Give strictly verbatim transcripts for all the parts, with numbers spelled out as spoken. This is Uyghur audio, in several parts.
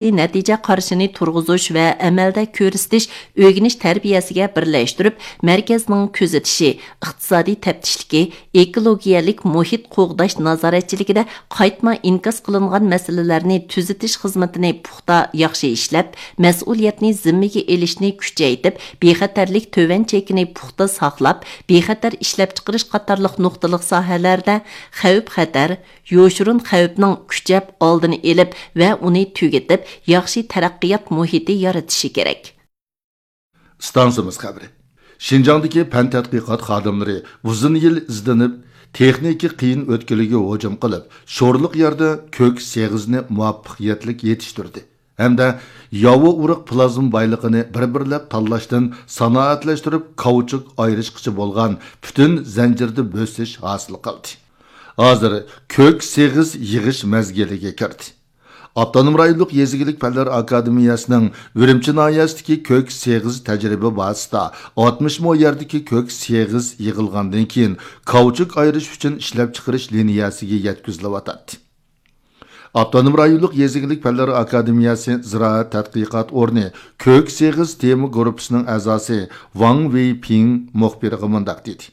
نەتىجە قارىشىنى تۇرغۇزۇش ۋە ئەمەلدە كۆرسىتىش، ئۆگىنىش تەربىيەسىگە بىرلەشتۈرۈپ، مەركەزنىڭ كۆزىتىشى، ئىقتىسادىي تەپتىشلىكى، ئېكولوگىيەلىك مۇھىت قوغداش نازارەتچىلىكىدە قايتما ئىنكاس قىلىنغان مەسىلىلەرنى تۈزىتىش خىزمىتىنى پۇختا، ياخشى ئىشلەپ، مەسئۇلىيەتنى زىممىگە ئېلىشنى كۈچەيتىپ، بىخەتەرلىك تۆۋەن چېكىنى پۇختا ساقلاپ، بىخەتەر ئىشلەپچىقىرىش قاتارلىق نۇقتىلىق ساھەلەردە خەۋپ-خەتەر، يوشۇرۇن خەۋپنىڭ كۈچەپ ئالدىنى ئېلىپ ۋە ئۇنى تۈگىتىپ، ياخشى تەرەققىيات مۇھىتى يارىتىشى كېرەك. ئىستانسىمىز خەۋىرى. شىنجاڭدىكى پەن تەتقىقات خادىملىرى ئۇزۇن يىل ئىزدىنىپ، تېخنىكا قىيىن ئۆتكىلىگە ھۇجۇم قىلىپ، شورلۇق يەردە كۆك سېغىزنى مۇۋەپپەقىيەتلىك يېتىشتۈردى ھەمدە ياۋا ئۇرۇق پلازما بايلىقىنى بىر-بىرلەپ تاللاشتىن سانائەتلەشتۈرۈپ، كاۋچۇك ئايرىشقىچە بولغان پۈتۈن زەنجىردە بۆسۈش ھاسىل قىلدى. ھازىر كۆك سېغىز يىغىش مەزگىلىگە كىردى. ئاپتونوم رايونلۇق يېزا ئىگىلىك پەنلەر ئاكادېمىيەسىنىڭ ئۈرۈمچى ناھىيەسىدىكى كۆك سېغىز تەجرىبە بازىسىدا ئاتمىش مو يەردىكى كۆك سېغىز يىغىلغاندىن كېيىن، كاۋچۇك ئايرىش ئۈچۈن ئىشلەپچىقىرىش لىنىيەسىگە يەتكۈزۈلۈۋاتاتتى. ئاپتونوم رايونلۇق يېزا ئىگىلىك پەنلىرى ئاكادېمىيەسى زىرائەت تەتقىقات ئورنى كۆك سېغىز تېما گۇرۇپپىسىنىڭ ئەزاسى ۋاڭ ۋېيپىڭ مۇخبىرغا مۇنداق دېدى: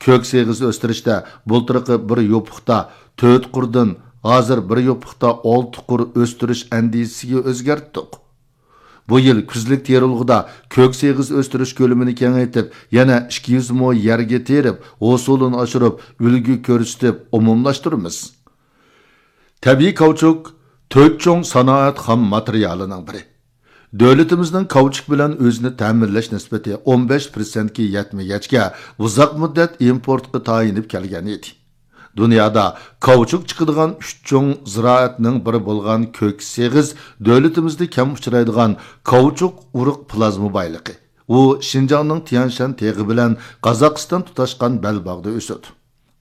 كۆك سېغىز ئۆستۈرۈشتە بۇلتۇرقى بىر يوپۇقتا تۆت قۇردىن ھازىر بىر يوپۇقتا ئالتە قۇر ئۆستۈرۈش ئەندىزىسىگە ئۆزگەرتتۇق. بۇ يىل كۈزلۈك تېرىلغۇدا كۆك سېغىز ئۆستۈرۈش كۆلىمىنى كېڭەيتىپ، يەنە ئىككى يۈز مو يەرگە تېرىپ، ھوسۇلىنى ئاشۇرۇپ، ئۈلگە كۆرسىتىپ ئومۇملاشتۇرىمىز. تەبىئىي كاۋچۇك تۆت چوڭ سانائەت خام ماتېرىيالىنىڭ بىرى. دۆلىتىمىزنىڭ كاۋچۇك بىلەن ئۆزىنى تەمىنلەش نىسبىتى ئون بەش پىرسەنتكە يەتمىگەچكە، ئۇزاق مۇددەت ئىمپورتقا تايىنىپ كەلگەن ئىدى. دۇنيادا كاۋچۇك چىقىدىغان ئۈچ چوڭ زىرائەتنىڭ بىرى بولغان كۆك سېغىز دۆلىتىمىزدە كەم ئۇچرايدىغان كاۋچۇك ئۇرۇق پلازما بايلىقى. ئۇ شىنجاڭنىڭ تيەنشەن تېغى بىلەن قازاقىستان تۇتاشقان بەلباغدا ئۆسىدۇ.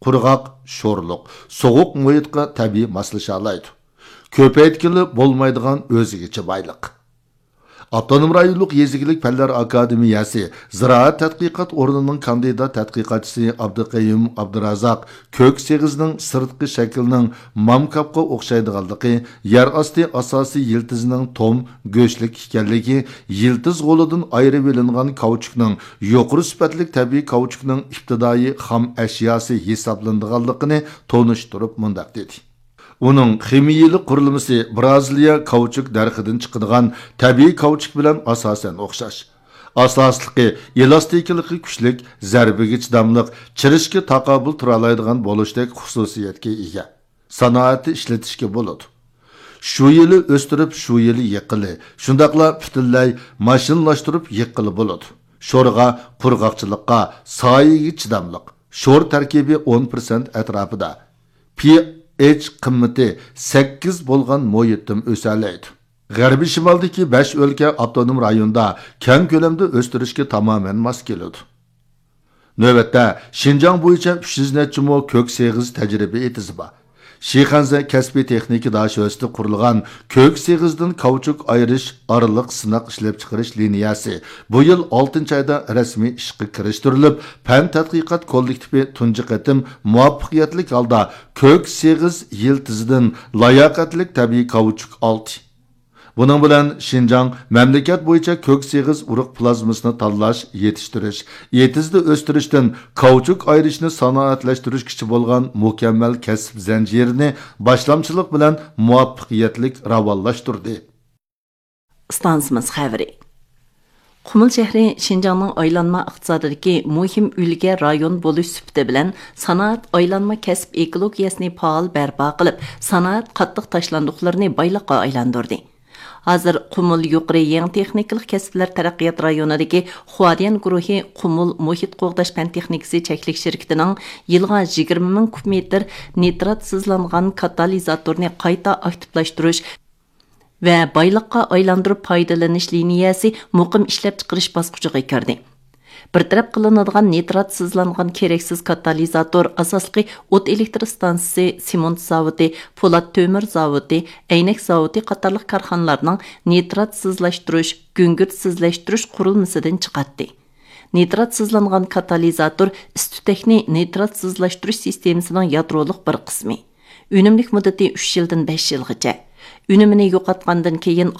قۇرغاق، شورلۇق، سوغۇق مۇھىتقا تەبىئىي ماسلىشالايدۇ. كۆپەيتكىلى بولمايدىغان ئۆزگىچە بايلىق. ئاپتونوم رايونلۇق يېزا ئىگىلىك پەنلەر ئاكادېمىيەسى زىرائەت تەتقىقات ئورنىنىڭ كاندىدات تەتقىقاتچىسى ئابدۇقەييۇم ئابدۇرازاق كۆك سېغىزنىڭ سىرتقى شەكلىنىڭ مامكاپقا ئوخشايدىغانلىقى، يەر ئاستى ئاساسىي يىلتىزىنىڭ توم، گۆشلۈك ئىكەنلىكى، يىلتىز غولىدىن ئايرىۋېلىنغان كاۋچۇكنىڭ يۇقىرى سۈپەتلىك تەبىئىي كاۋچۇكنىڭ ئىپتىدائىي خام ئەشياسى ھېسابلىنىدىغانلىقىنى تونۇشتۇرۇپ مۇنداق دېدى: ئۇنىڭ خىمىيىلىك قۇرۇلمىسى برازىلىيە كاۋچۇك دەرىخىدىن چىقىدىغان تەبىئىي كاۋچۇك بىلەن ئاساسەن ئوخشاش. ئاساسلىقى ئېلاستىكىلىقى كۈچلۈك، زەربىگە چىداملىق، چىرىشكە تاقابىل تۇرالايدىغان بولۇشتەك خۇسۇسىيەتكە ئىگە. سانائەتتە ئىشلىتىشكە بولىدۇ. شۇ يىلى ئۆستۈرۈپ، شۇ يىلى يىغقىلى، شۇنداقلا پۈتۈنلەي ماشىنىلاشتۇرۇپ يىغقىلى بولىدۇ. شورغا، قۇرغاقچىلىققا، سايىگە چىداملىق. شور تەركىبى ئون پىرسەنت ئەتراپىدا. پىئېچ قىممىتى سەككىز بولغان مۇھىتتىم ئۆسەلەيدۇ. غەربىي شىمالدىكى بەش ئۆلكە ئاپتونوم رايوندا كەڭ كۆلەمدە ئۆستۈرۈشكە تامامەن ماس كېلىدۇ. نۆۋەتتە، شىنجاڭ بويىچە ئۈچ يۈز نەچچە مو كۆك سېغىز تەجرىبە ئېتىزى بار. شىخەنزە كەسپىي تېخنىكا داشۆسىدە قۇرۇلغان كۆك سېغىزدىن كاۋچۇك ئايرىش ئارىلىق سىناق ئىشلەپچىقىرىش لىنىيەسى بۇ يىل ئالتىنچى ئايدا رەسمىي ئىشقا كىرىشتۈرۈلۈپ، پەن تەتقىقات كوللېكتىپى تۇنجى قېتىم مۇۋەپپەقىيەتلىك ھالدا كۆك سېغىز يىلتىزىدىن لاياقەتلىك تەبىئىي كاۋچۇك ئالدى. بۇنىڭ بىلەن شىنجاڭ مەملىكەت بويىچە كۆك سېغىز ئۇرۇق پلازمىسىنى تاللاش، يېتىشتۈرۈش، ئېتىزدا ئۆستۈرۈشتىن كاۋچۇك ئايرىشنى سانائەتلەشتۈرۈشكىچە بولغان مۇكەممەل كەسىپ زەنجىرىنى باشلامچىلىق بىلەن مۇۋەپپەقىيەتلىك راۋانلاشتۇردى. ئىستانسىمىز خەۋىرى. قۇمۇل شەھىرى شىنجاڭنىڭ ئايلانما ئىقتىسادىدىكى مۇھىم ئۈلگە رايون بولۇش سۈپىتى بىلەن سانائەت ئايلانما كەسىپ ئېكولوگىيەسىنى پائال بەرپا قىلىپ، سانائەت قاتتىق تاشلاندۇقلىرىنى بايلىققا ئايلاندۇردى. ھازىر قۇمۇل يۇقىرى يېڭى تېخنىكىلىق كەسىپلەر تەرەققىيات رايونىدىكى خۇاديەن گۇرۇھى قۇمۇل مۇھىت قوغداش پەن تېخنىكىسى چەكلىك شىركىتىنىڭ يىلغا يىگىرمە مىڭ كۇب مېتىر نىتراتسىزلانغان كاتالىزاتورنى قايتا ئاكتىپلاشتۇرۇش ۋە بايلىققا ئايلاندۇرۇپ پايدىلىنىش لىنىيەسى مۇقىم ئىشلەپچىقىرىش باسقۇچىغا كىردى. بىر تەرەپ قىلىنىدىغان نىتراتسىزلانغان كېرەكسىز كاتالىزاتور ئاساسلىقى ئوت ئېلېكتر ئىستانسىسى، سېمونت زاۋۇتى، پولات تۆمۈر زاۋۇتى، ئەينەك زاۋۇتى قاتارلىق كارخانىلارنىڭ نىتراتسىزلاشتۇرۇش، گۈڭگۈرتسىزلەشتۈرۈش قۇرۇلمىسىدىن چىقاتتى. نىتراتسىزلانغان كاتالىزاتور ئىس-تۈتەكنى نىتراتسىزلاشتۇرۇش سىستېمىسىنىڭ يادرولۇق بىر قىسمى. ئۈنۈملۈك مۇددىتى ئۈچ يىلدىن بەش يىلغىچە. ئۈنۈمىنى يوقاتقاندىن كېيىن